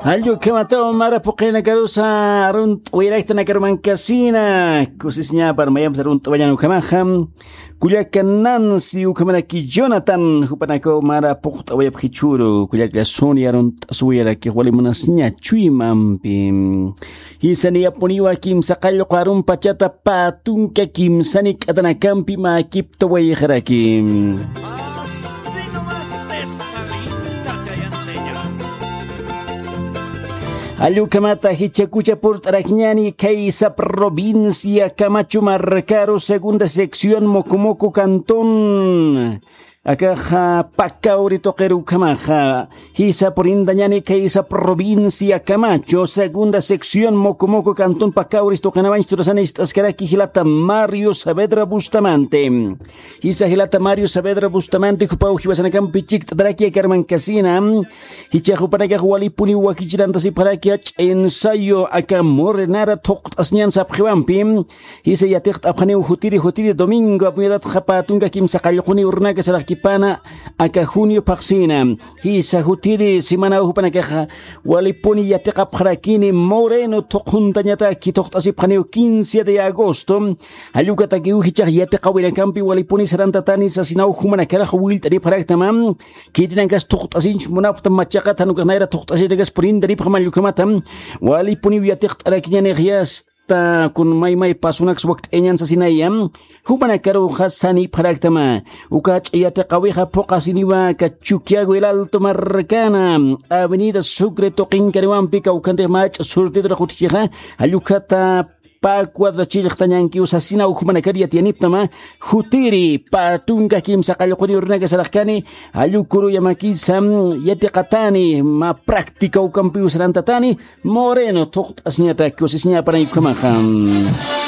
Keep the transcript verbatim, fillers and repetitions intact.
Allukhamataw mara puqinakarusa arunt'wayraktanakarumankasina. Kusisñapar mayamsa arunt'wañan ukhamaxa. Kullaka Nancy ukhamaraki Jonathan jupanakaw mara puqt'awayapxichuru. Kullaka Sonia arunt'aswayaraki wali munasña chuymampi. Jisa niyapuniwa kimsa qallqu arunpachata pä tunka kimsani k'atanakampi mäkiptawayxaraki. Allukhamata jichhakucha purt'arakñani khaysa provincia Camacho markaru segunda sección Mocomoco cantón. Akaxa Pacauri tuqiru ukhamaxa. Jisa purintañani khaysa provincia Camacho segunda sección Mocomoco cantón Pacauri tuqinawañ turasani ist'askaraki jilata Mario Saavedra Bustamante. Jisa jilata Mario Saavedra Bustamante jupaw jiwasanakampi chikt'ataraki akarmankasina. Jichhax jupanakax walipuniw wakichirantasipxaraki jach'a ensayo aka morenara thuqt'asñan sapxiwampi. Jisa yatiqt'apxaniw jutiri jutiri domingo apuñatatxa pä tunka kimsa qallquni urunaka saraxkipana aka junio phaxsina. Jisa jutiri semanaw jupanakaxa walipuni yatiqapxarakini moreno thuqhuntañataki thuqt'asipxaniw quince de agosto. Jallukatakiw jichhax yatiqawinakampi walipuni sarantatani sasinaw jumanakarax willt'aripxaraktama. Khitinankas thuqt'asinch munapxtam machaqat jan ukax nayra thuqt'asitakas purintaripxam allukhamata. Walipuniw yatiqt'arakiñanix yasta kun maymay pasunaks wakt'ayañan sasinaya. Jumanakaruxa sanipxaraktama. Uka jach'a yatiqawixa phuqasiniwa aka Chuquiago el Alto markana avenida Sucre tuqinkaniwampi kawkhantix mach'a surtidura qutjixa. Jallukhata pä cuadra chillqtañankiw sasinaw jumanakar yatiyaniptama. Jutiri pä tunka kimsa qallquni urunaka saraxkani. Jallukuruyamakisa yatiqatani mä práctica ukampiw sarantatani. Moreno thuqt'asñata kusisñapanay ukhamaxa.